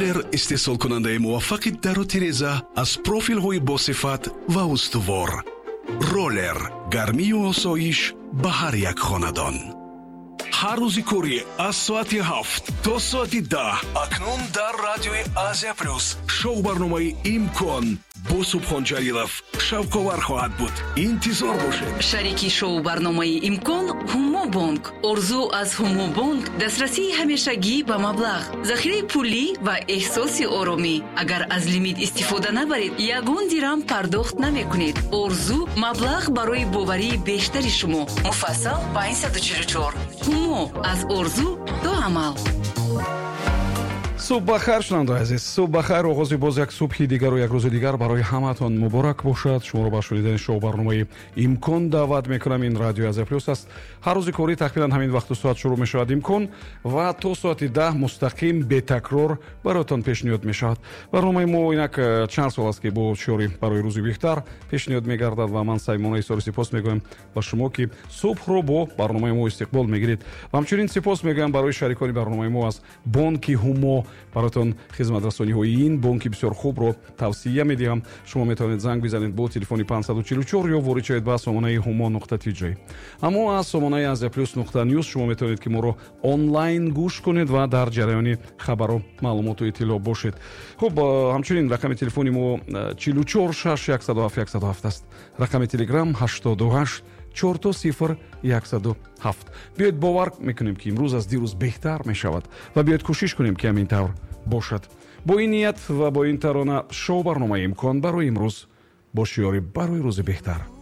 Роллер, истеҳсолкунандаи муваффақи дару тиреза аз профилҳои босифат ва устувор. Роллер, гармию осоиш ба ҳар як хонадон. Ҳар рӯзи корӣ аз соати 7 то соати 10 акнун дар радиои Азия Плюс шоу барномаи «Имкон» бо Субҳон Ҷалилов шавқовар хоҳад буд. Интизор бошед. Шарики шоу-барномаи «Имкон» Ҳумобонк. Орзу аз Ҳумобонк: дастрасии ҳамешагӣ ба маблағ, захираи пулӣ ва эҳсоси оромӣ. Агар аз лимит истифода набаред, ягон дирам пардохт намекунед. Орзу: маблағ барои боварии бештари шумо. Муфассал 544. Ҳумо: аз орзу то амал. Субҳ бахайр, шунавандаои азиз, субҳ бахайр. Оғози боз як субҳи дигару як рӯзи дигар барои ҳамаатон муборак бошад. Шуморо ба шунидани шоу барномаи «Имкон» даъват мекунам. Ин радиои Азия Плюс аст. Ҳар рӯзи корӣ тақрибан ҳамин вақту соат шурӯъ мешавад «Имкон» ва то соати 10 мустақим, бетакрор бароятон пешниҳод мешавад. Барномаи мо инак чанд сол аст, ки бо шиори «Барои рӯзи беҳтар» пешниҳод мегардад ва ман самимона изҳори сипос мегӯям ба шумо, ки субҳро бо барномаи мо истиқбол мегиред. Ва ҳамчунин сипос мегӯям барои шарикони барномаи мо аз бонки Ҳумо. Бароятон хизматрасониҳои ин бонки бисёр хубро тавсия медиҳам. Шумо метавонед занг бизанед бо телефони 544 ё ворид шавед ба сомонаи humo.tj. Аммо аз сомонаи asiaplus.news шумо метавонед, ки моро онлайн гӯш кунед ва дар ҷараёни хабару маълумоту иттилоъ бошед. Хуб, ҳамчунин рақами телефони мо 44 6 107 107 аст. Рақами Телеграм 88 000 107. Биёед, бовар мекунем, ки имрӯз аз дирӯз беҳтар мешавад, ва биёед, кӯшиш кунем, ки ҳамин тавр бошад. Бо ин ният ва бо ин тарона шоу барномаи «Имкон» барои имрӯз бо шиёри «Барои рӯзи беҳтар».